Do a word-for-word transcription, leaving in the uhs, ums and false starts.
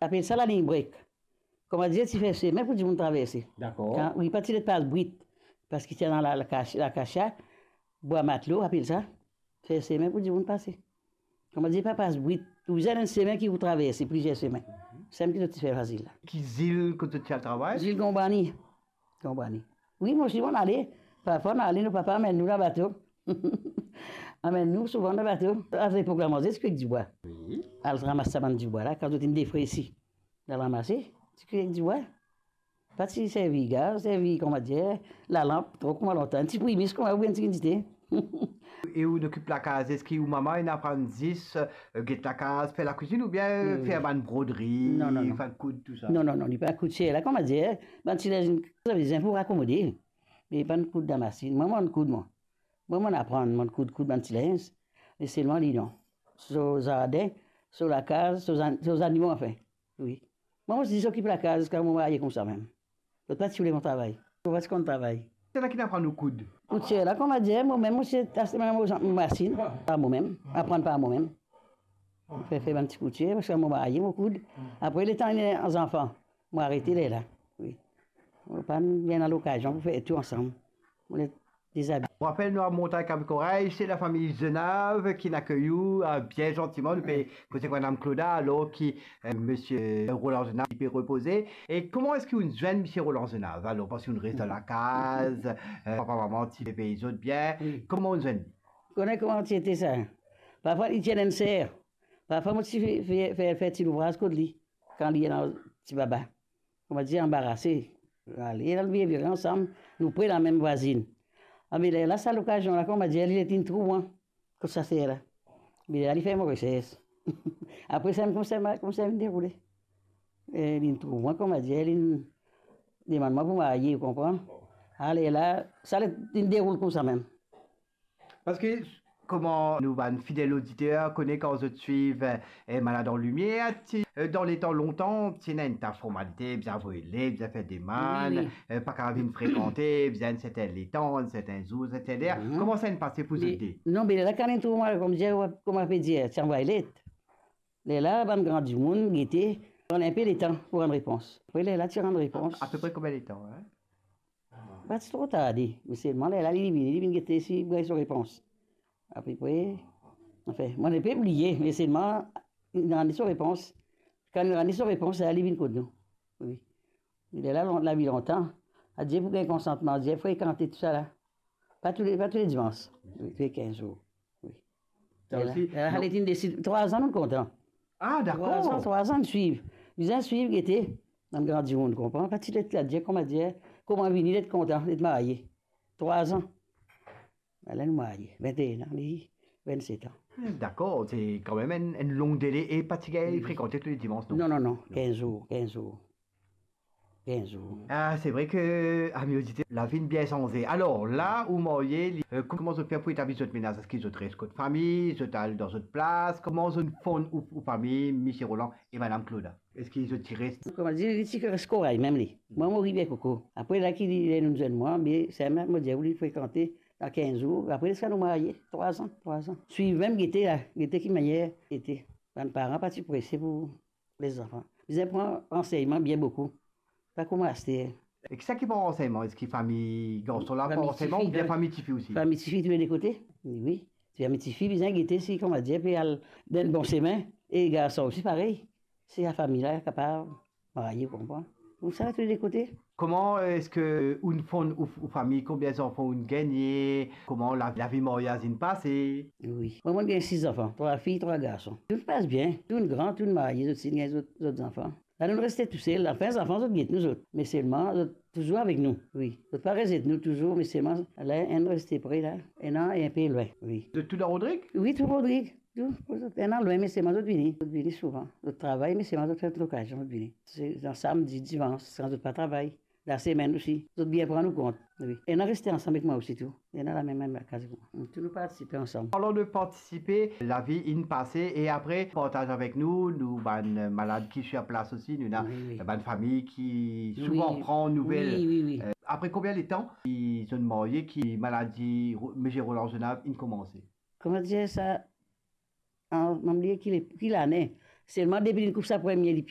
apel sa lalign brek. Kouma dir, ti fer semin pou dimoun traverse. Dakor. Kan, wi, pa ti let pas brit, parski ti ena la, lakasia, lakasia, bwa matlo, apel sa. Fer semin pou dimoun pase. Kouma dir, pa pas brit, ou bizin enn semin ki pou traverse, plizier semin. Samem ki zot ti fer fasil la. Ki zil kot zot ti al travay? Zil Gonbani. Gonbani. Wi, mo osi, mo'nn ale. Parfwa, nou ale, nou papa amenn nou dan bato. Amenn nou souvan dan bato. A lepok la, manze ti kwi ek dibwa. Wi. Al ramas sa bann dibwa la, kan zot inn defresi. Al ramase, ti kwi ek dibwa. Pa ti servi gaz, servi, kouma dir, lalanp, tro kouma lontan. Ti primis kouma oubien ti dite. E ou'nn okip lakaz, eski ou mama inn aprann zis, eh, get lakaz, fer lakwizinn oubien, wi, wi, fer bann brodri, non, non, non, fer koud, tousa? Non, non, non, li pa koud. Sa la, kouma dir, bann ti linz, sa bizin pou akomode. Me pa'nn koud dan masinn. Mwa, mo'nn koud, mwa. Mwa, mo'nn aprann, mo'nn koud, koud bann ti linz. Me selman li, non. So zardin, so lakaz, so zan-, so zanimo, anfin. Wi. Mwa, mo ti zis okip lakaz ziska mo marye koumsa mem. Zot pa ti oule mo travay. Mo pa ti konn travay. Seki inn aprann ou koud? Koud sa la, kouma dir, momem mo ti aste mo masinn, par momem, aprann par momem. Fer, fer bann ti koud, parski mo marye, mo koud. Apre, letan ena zanfan, mo arete lerla. Wi. Mo pa'nn gagn lokazion pou fer tou ansam. Mo le dezabiye. Mo rapel, nou a Montagn Kavi Koray, se lafami Zenave ki'nn akey ou, eh, bien zantiman. Nou pe koze ek Madam Clauda, alor ki, eh, Misie Roland Zenave, li pe repoze. E kouma eski ou'nn zwenn Misie Roland Zenave, alor? Parski ou'nn res dan lakaz, eh, papa, mama ti pe pey zot bien. Wi. Kouma ou'nn zwenn li? Kone kouma ti ete sa? Parfwa, li ti ena enn ser. Parfwa, mo ti fer, fer, fer, fer ti louvraz kot li, kan li ena ti baba. Kouma dir, anbarase. Ale, al vire, vire ansam, nou pre lamem vwazinn. Abe lerla, sa lokazion la, kouma dir, li, li inn trouv mwa kot sa ser la. Abe lerla, li fer mo resers. Apre sa, koumsa, koumsa inn deroule. E, li inn trouv mwa, kouma dir, li inn demann mwa pou marye, ou konpran? Alerla, sa li inn deroule koumsa mem. Parski, kouma nou bann fidel oditer kone, kan zot swiv, eh, Malad an Limier, ti, eh, dan letan lontan, ti ena enn ta formalite, bizin avoy let, bizin fer demann, wi, wi, eh, pa kapav vinn frekante, bizin enn sertin letan, enn sertin zour, enn sertin ler. Mhm. Kouma sa inn pase pou zot de? Non, me lerla kan inn trouv mwa, kouma dir, kouma pe dir, ti avoy let. Lerla, bann gran dimoun gete, pran enpe letan pou rann repons. Apre lerla, ti rann repons. Apepre konbien letan, eh? Pa ti tro tarde, me selman lerla li vini, li vinn gete si li gagn so repons. Apepre, anfin, mo nepli bliye, me selman li rann li so repons. Kan li rann li so repons, lerla li vinn kot nou. Wi. Lerla, lon-, lavi lontan. Adir pou gagn konsantman, adir frekante tousala. Pa toule, pa toule dimans. Wi, toule kinz zour. Wi. Sa osi, lerla, non. Lerla li inn desid, trwa zan nou kontan. Ah, dakor. Trwa zan, trwa zan swiv. Bizin swiv, gete. Bann gran dimoun, konpran? Pa ti let la, dir kouma dir, kouma vini, let kontan, let marye. Trwa zan. Ala nou marye. Vinteen an, li, vennset an. Dakor, se kanmem enn, enn long dele e pa ti gagn frekante tou le dimans, non? Non, non, non. Non. Kinz zour, kinz zour. Kinz zour. Ah, se vre ke, ami oditer, lavi inn bien sanze. Alor, la ou marye, li, eh, kouma zot fer pou etabli zot mennaz? Eski zot res kot fami, zot al dan zot plas? Kouma zot inn fonn ou, ou fami, Misie Roland e Madam Clauda? Eski zot ti res? Kouma dir, li ti res Koray mem li. Mwa, mo rive Koko. Apre la ki li, ler nou zwenn mwa, me sa mem, mo dir, ou li frekante dan kinz zour. Apre sa nou marye, trwa zan, trwa zan. Swiv mem gete la, gete ki manier ete. Bann paran pa ti prese pou lezanfan. Bizin pran ransegnman bien boukou. Pa kouma aster. E kisannla ki pran ransegnman? Eski fami garson la pran ransegnman oubien fami tifi osi? Fami tifi, tou le de kote. Wi, wi. Fami tifi bizin gete si, kouma dir, pe al dan bon semin. E garson osi parey. Si lafami la kapav marye, ou konpran? Koumsa, tou le de kote. Kouma eski ou'nn fonn ou, ou fami, konbien zanfan ou'nn gagne? Kouma la, lavi maryaz inn pase? Wi. Mwa, mo'nn gagn sis zanfan, trwa fi, trwa garson. Tou pas bien, tounn gran, tounn marye, zot finn gagn zot, zot zanfan. La, nou reste tousel, anfin, zanfan, zot get nou, zot. Me selman, zot touzour avek nou, wi. Zot pa rezet nou touzour, me selman, la, enn reste pre la, ena e enpe lwin, wi. Zot tou dan Rodrig? Wi, tou Rodrig. Tou, ena lwin, me selman zot vini. Zot vini souvan. Zot travay, me selman zot fer lokazion, zot vini. Se dan samdi, dimans, kan zot pa travay. Lasemenn osi. Zot bien pran nou kont. Wi. Ena reste ansam ek mwa osi tou. Ena lamem, mem lakaz ek mwa. Tou nou partisipe ansam. Parlan de partisipe, lavi inn pase e apre, partaz avek nou, nou bann malad ki sir plas osi, nou ena, wi, wi, bann fami ki souvan pran nouvel. Wi, wi, wi. Eh, apre konbien letan ki zot inn marye, ki maladi Ro-, Misie Roland Zenave inn koumanse? Kouma dir sa, an, mo bliye ki le-, ki lane. Selman depi li koup sa premie lipie,